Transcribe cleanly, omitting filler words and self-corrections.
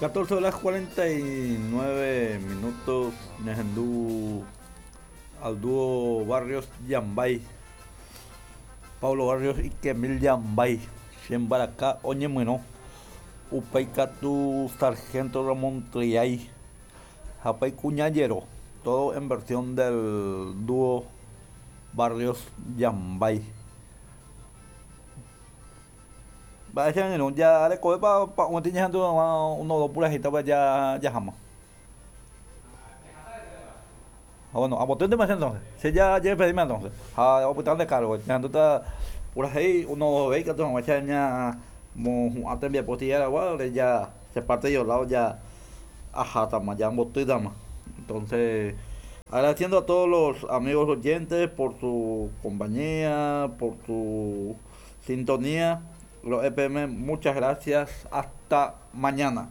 14 horas 49 minutos ñahendu al dúo Barrios Yambay Pablo Barrios y Kemil Yambay Che mbaraka oñemyrõ upéi katu Sargento Ramón Triay ha upéi Kuña Jero todo en versión del dúo Barrios Yambay. Mba'e che angirũ, jarekovépa pa'ũeti ñahendu hag̃ua uno dos purahéitapa jaháma. Ha bueno, ambotýntema che entonces. Che ya jedespedíme entonces. Ha opyta nde cargo. Ñahendúta purahéi uno dos véi katu hag̃uáicha ñamohu'ã tembiapo tierragua ore ya che parte yo lado ya ahátama, ya ambotýtama. Entonces, agradeciendo a todos los amigos oyentes por su compañía, por su sintonía. Los EPM, muchas gracias. Hasta mañana.